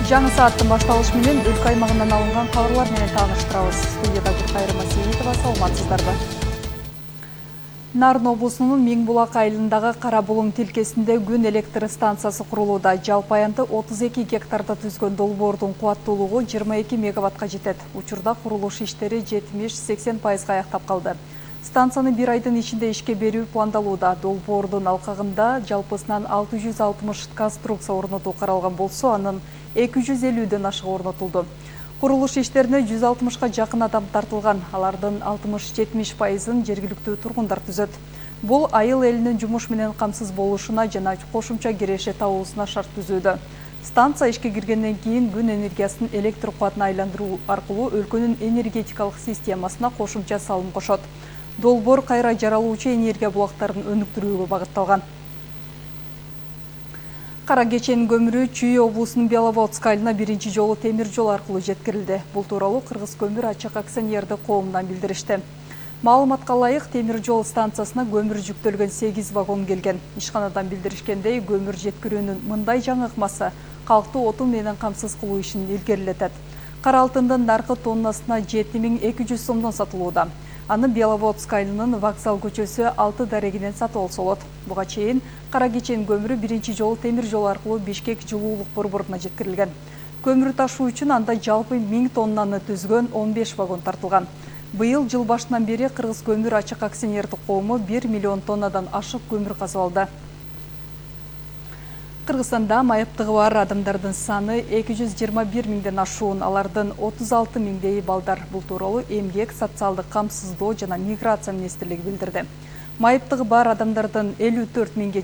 Жаңы сааттын башталышы менен өлкө аймагынан алынган кабарлар менен тааныштырабыз. Студияда Гүлкайыр Масиитова, саламатсыздарбы. Нарын облусунун Миңбулак айылындагы Кара Булуң тилкесинде күн электр станциясы курулууда. Жалпы аянты 32 гектарда түзгөн долбоордун кубаттуулугу 22 мегаваттка жетет. Учурда курулуш иштери 70-80% аяктап калды. Станцияны бир айдын ичинде ишке берүү пландалууда. Долбоордун алкагында жалпысынан 660 конструкция орнотуу каралган болсо, анын 250ден ашыгы орнотулду. Курулуш иштерине 160га жакын адам тартылган. Алардын 60-70%ын жергиликтүү тургундар түзөт. Бул айыл элинин жумуш менен камсыз болушуна жана кошумча киреше табуусуна шарт түзүүдө. Станция ишке киргенден кийин күн энергиясын электр кубатына айландыруу аркылуу өлкөнүн энергетикалык системасына кошумча салым кошот. Долбоор кайра жаралуучу энергия булактарын өнүктүрүүгө багытталган. Кара кеченин көмүрү Чүй облусунун Беловодск айылына биринчи жолу темир жол аркылуу жеткирилди. Бул тууралуу Кыргыз көмүр ачык акционердик коомунан билдиришти. Маалыматка ылайык, темир жол станциясына көмүр жүктөлгөн 8 вагон келген. Ишканадан билдиришкендей, көмүр жеткирүүнүн мындай жаңы ыкмасы калкты отун менен камсыз кылуу ишин илгерилетет. Кара алтындын наркы тоннасына 7200 сомдон сатылууда. Аны Беловодск айылынын Вокзал көчөсү 6 дарегинен сатып алса болот. Буга чейин кара кечен көмүрү биринчи жолу темир жол аркылуу Бишкек жылуулук борборуна жеткирилген. Көмүр ташуу үчүн анда жалпы 1000 тоннаны түзгөн 15 вагон тартылган. Быйыл жыл башынан бери Кыргыз көмүр ачык акционердик коому 1 миллион тоннадан ашык көмүр казып алды. Кыргызстанда майыптыгы бар адамдардын саны 221 миңден ашуун, алардын 36 миңдеи балдар. Бул тууралуу Эмгек, социалдык камсыздоо жана миграция министрлиги билдирди. Майыптыгы бар адамдардын 54 миңге